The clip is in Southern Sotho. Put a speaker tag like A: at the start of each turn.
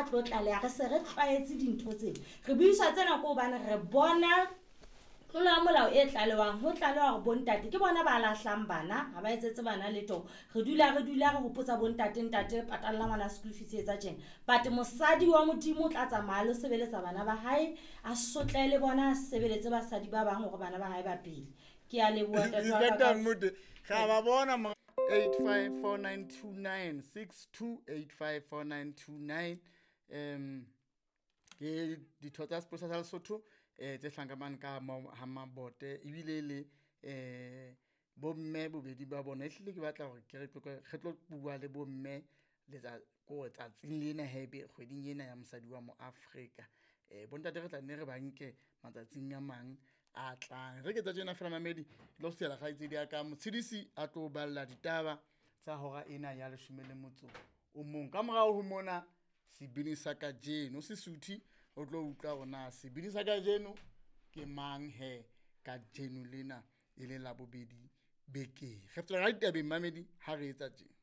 A: tlo tlaleha re se re tlwaetse dintho tsena re buiswa tsena ko hobane re bona tlolo ya molao e tlalewang ho tlalewa gore bontate ke bona ba lahlang bana ga ba etsetse bana letho re dula re dula re gopotsa bontate ntate patalla ngwana school fees etsa tjena but mosadi wa modimo o tla tsamaya lo sebeletsa bana ba hae a sotle le bona a sebeletse basadi ba bang gore bana ba hae ba pele ke a leboa ntate wa ka
B: ga ba bona 854929 62854929 ke ditho tsa sepolesa sa Lesotho tse hlankamang ka ha Mabote ebile le bomme bobedi ba bona. Ehlile ke batla hore ke re tlo bua le bomme ko tsatsing lena haebe kgweding ena ya mosadi wa mo Afrika. Bontate re tla nne re ba nke matsatsing a mang a tlang. Re ke tsa tjena fela mamedi ke tlo siela kgaitsedi ya ka Motshedisi a tlo balla ditaba tsa hora ena ya 11. Ka morao ho mona sebini sa kajeno Sesuthu o tlo utlwa hore na sebini sa kajeno ke mang he kajeno lena e le la bobedi bekeng. Re fetela ka ditabeng mamedi ha re etsa tjena.